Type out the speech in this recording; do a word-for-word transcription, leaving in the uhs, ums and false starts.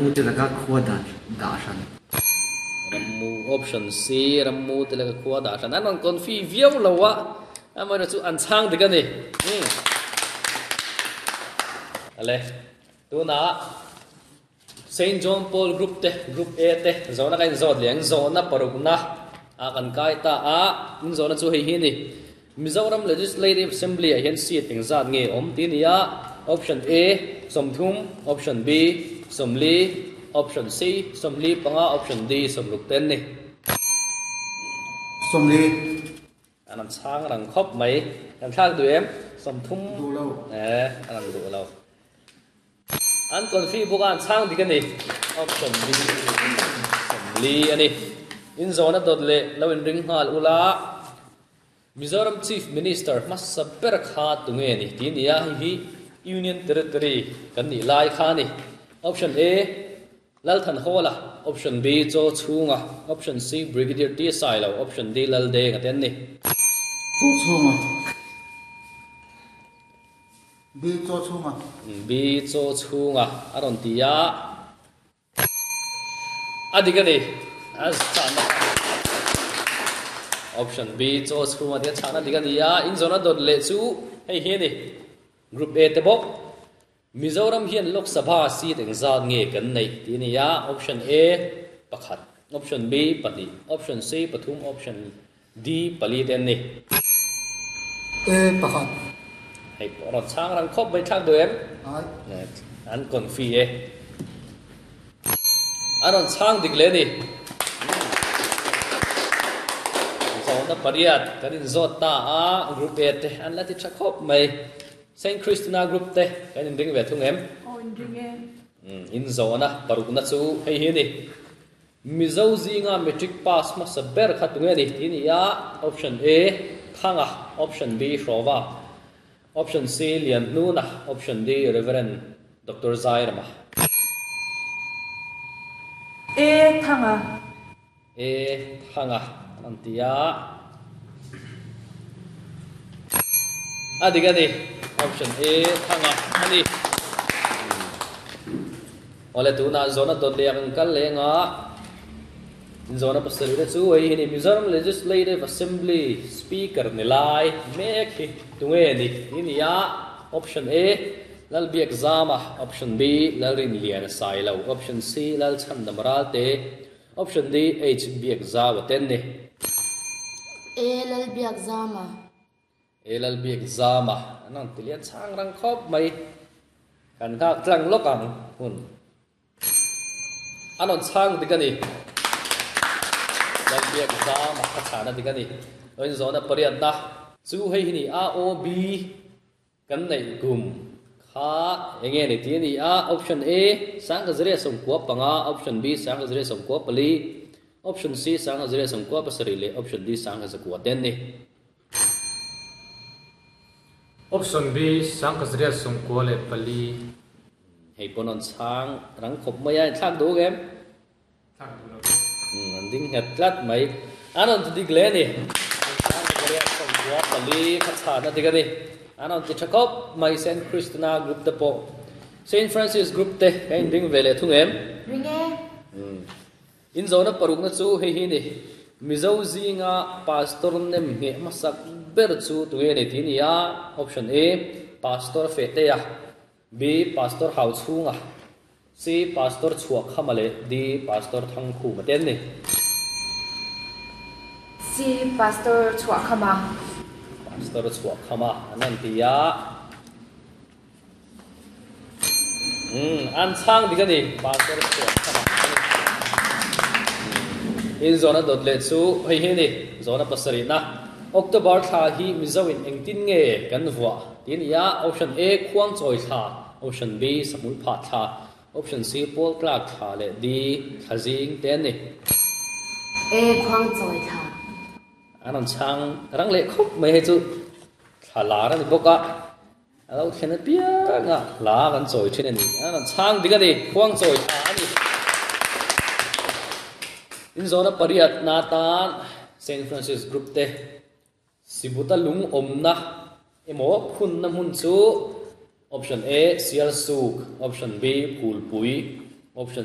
Rammu te laka khua dah dah hran. Rammu option C Rammu te laka khua dah hran an rawn confi viau lo a amaherawhchu an chhang dik a ni. Umm Ale tunah Saint John Paul Group te Group A te zawhna ka inzawt leh ang zawhna parukna ah kan kai ta a inzawhna chu hei hi a ni. Mizoram Legislative Assembly ah hian seat engzat nge awm tih a ni a, Option A, sawmthum, Option B, sawmli, Option C, sawmli panga, Option D, sawmruk te an ni. Sawmli. An rawn chhang rang khawp mai. Kan thlak duh em? Sawmthum. Duh lo. Eh, an rawn duh lo. An confi bawk a, an chhang dik a ni. Option B, sawmli a ni. Inzawhna dawt leh lo inring nghal ula. Mizoram Chief Minister hmasa ber kha tunge ni tih nia, hei hi Union Territory kan nih lai kha a ni. Option A, Lalthanhawla, Option B, Chaw Chhunga, Option C, Brigadier T Sailo, Option D, Laldenga te an ni. Chaw Chhunga, B, Chaw Chhunga. B, Chaw Chhunga a rawn ti a. A dik a ni. A chhahna Option B chaw chhunga tia chhahna dik a ni a, inzawhna dawt leh chu hei hi a ni. Group A te bawk. Mizoram hian Lok Sabha seat engzat nge kan neih tih a ni a, Option A pakhat, Option B pahnih, Option C pathum, Option D pali te an ni. A pakhat. Hei pawh rawn chhang rang khawp mai thlak duh em? Ai. An confi e. A rawn chhang dik leh a ni. Zawhna pariat kan inzawt ta a, Group A te an la ti tha khawp mai. Saint Christina Group te kan inring ve thung em? Aw inring e. Inzawhna parukna chu hei hi a ni. Mizo zinga Matric pass hmasa ber kha tunge a ni tih a ni a, Option A, Thanga, Option B, Hrawva, Option C, Lianhnuna, Option D, Reverend Doctor Zairama. E Thanga. E Thanga an ti a. A dik a ni. Option A Thanga a ni. Awle tunah zawhna dawt leh ang kal leng a. Inzawhna pasarih te chu hei hi ni Mizoram Legislative Assembly Speaker ni lai mek hi tunge ni tih a ni a. Option A, Lalbiak Zama, Option B, Lalrinliana Sailo, Option C, Lalchhandam Ralte, Option D, H Biak Zau a ten ni. A Lalbiak Zama. A Lalbiak Zama an rawn ti lian chhang rang khawp mai. Kan nghak tlang lawk ang hun. A rawn chhang dik a ni. Lalbiak Zama a chhana dik a ni. Awin zawhna pariatna chu hei hi ni A O B kan neih kum kha enge ni tih a ni a, Option A, Sangkazria sawmkua panga, Option B, Sangkazria sawmkua pali, Option C, Sangkazria sawmkua pasarih leh Option D, Sangkazakua te an ni. Option B, Sangkazria sawmkua leh pali. Hei pawn rawn chhang rang khawp mai a, inthlak duh em? Thlak duh lo. Umm an ding nghet tlat mai. An rawn ti dik hle a ni. Sangkazria sawmkua pali kha chhana dik a ni. An rawn ti tha khawp mai Saint Christina Group te pawh. Saint Francis Group te ka inring ve leh thung em? Ring e. Umm. Inzawhna parukna chu hei hi a ni. Mizo zinga Pastor nem ngheh hmasak ber chu tunge ni tih a ni a. Option A, Pastor Fehtea, B, Pastor Hauchhunga, C, Pastor Chhuahkhama leh D, Pastor Thangkhuma te an ni. C, Pastor Chhuahkhama. Pastor Chhuahkhama an rawn ti a. Umm, an chhang dik a ni, Pastor Chhuahkhama a ni. Inzawhna dawt leh chu hei hi a ni, zawhna pasarihna. October thla hi Mizo in engtin nge kan vuah tih a ni a, Option A, Khuangchawi thla, Option B, Sahmul phah thla, Option C, Pawl tlak thla leh D, thla zing te an ni. A, Khuangchawi thla. An rawn chhang rang leh khawp mai hei chu thla lar a ni bawk a, a lo thlen apiang a hla kan chawi thin a ni. An rawn chhang dik a ni, Khuangchawi thla a ni. Inzawhna pariat na tan Saint Francis Group te Sibuta lung awmna emaw phunna hmun chu Option A, Sialsuk, Option B, Phulpui, Option